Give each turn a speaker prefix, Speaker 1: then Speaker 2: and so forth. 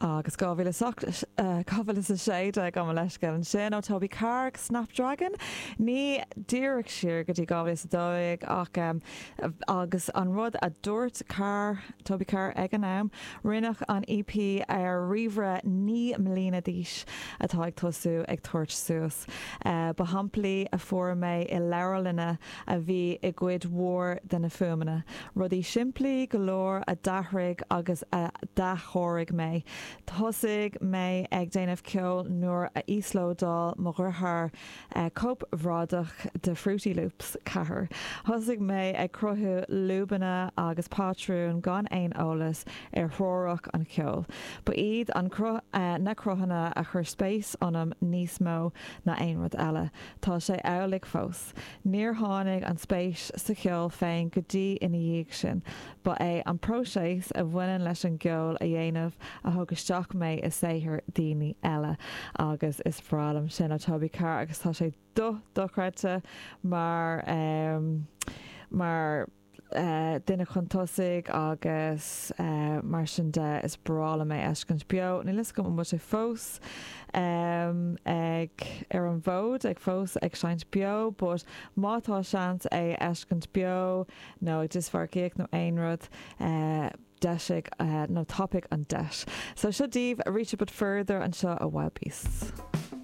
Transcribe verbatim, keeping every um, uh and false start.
Speaker 1: Agus dhá mhíle dhá sé déag am leisce ansin ó Toby Carr Snapdragon ní díreach siar go dtí dhá mhíle a dó dhéag ach um, agus an rud a dúirt Carr Toby Carr ag an am rinneadh an EP ar ríomhaire naoi mbliana d'aois atá ag tosú ag tabhairt suas. Uh, ba shamplaí a fuair mé i leabharlanna a bhí i gcuid mhór de na fuaimeanna. Rudaí simplí go leor a d'athraigh agus a d'athchóirigh mé. Thosaigh mé ag déanamh ceoil nuair a íoslódáil mo dheartháir uh, cóip bhradach de Fruity Loops ceathair. Thosaigh mé ag cruthú lúbanna agus patrún gan aon eolas ar theoiric an cheoil. Ba iad an cru uh, na cruthanna a chuir spéis ionam níos mó ná aon rud eile. Tá sé amhlaidh fós. Níor tháinig an spéis sa cheol féin go dtí ina dhiaidh sin, Ba é an próiseas a bhaineann leis an gceol a dhéanamh a thug isteach mé i saothar daoine eile agus is breá liom sin ó Toby Carr agus tá sé do dochreidte mar um, mar uh, duine chun tosaigh agus uh, mar sin de is breá liom é a fheiscint beo Níl fhios agam an bhfuil sé fós um, ag ar an bhfód ag fós ag seinnt beo, but má tá seans é a fheiscint beo nó ag dismharcaíocht nó aon rud uh, deisigh uh, nó tapaigh an deis. So seo daoibh Reach a Bit Further anseo ó Wild Beasts.